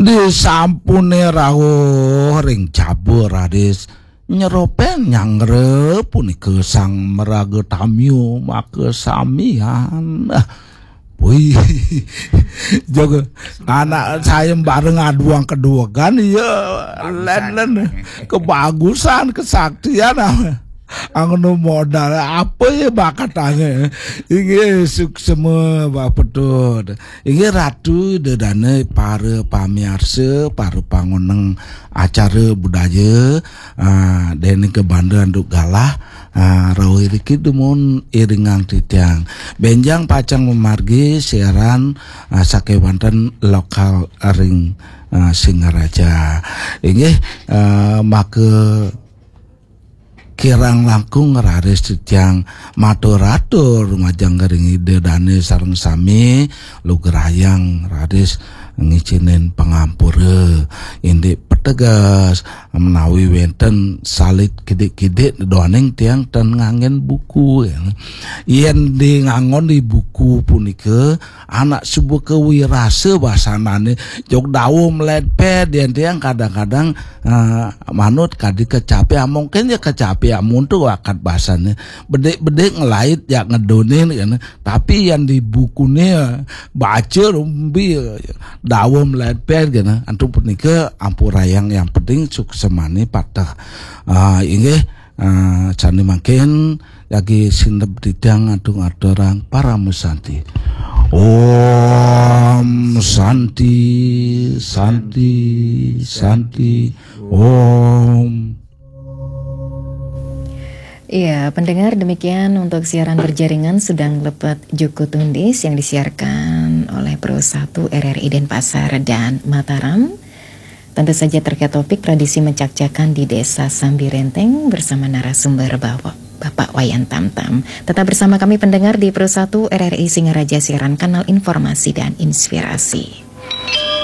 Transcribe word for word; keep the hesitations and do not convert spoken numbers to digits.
Disampune rauh ring jaba raris nyeropen nyanggra punika sang maraga tamya maka samian. Ah, wih, jaga anak saya bareng aduang keduegan, ya, len-len kebagusan, kesaktian, ah. Angno modal apa ya bakatane? Inggih, suksema Pak Petut. Inggih, Ratu Ida Dane, para pamiarsa, para pangoneng acara budaya, ah, dene ke Banda Anduk Galah, ah, rauh iriki dumun iringang titiang. Benjang pacang mamargi siaran, ah, sakewanten lokal ring, ah, Singaraja. Inggih, ah, maka kirang langkung raris titiang matur-atur majeng ring Ida Dane sareng sami lugrayang raris ngicinin pangampura indik peteges menawi wenten salit kidik-kidik duaning tiang ten nganggen buku. Yen di ngangon di buku punika anak suba kawirasa basanane jog dawa mledped yen tiang kadang-kadang, eh, manut kadi kecapi, ah, mungkin ya kecapi, ah, muntu wakat basane bedik-bedik ngelait ya ngedonin kene. Tapi yang di bukune, eh, baca rumbi, eh, dawa mledped kene. Antuk punika ampurayang, yang penting suksemane pateh. Ah, inggih, ah, sane mangkin jagi sineb titiang atung aturang paramasanti. Om Santi, Santi, Santi, Om. Iya, pendengar, demikian untuk siaran berjaringan sedang lepet Juku Tundis yang disiarkan oleh Pro satu R R I Denpasar dan Mataram. Tentu saja terkait topik tradisi mencakcakan di Desa Sambirenteng bersama narasumber Bapak, Bapak Wayan Tamtam. Tetap bersama kami pendengar di Pro satu R R I Singaraja, siaran kanal informasi dan inspirasi.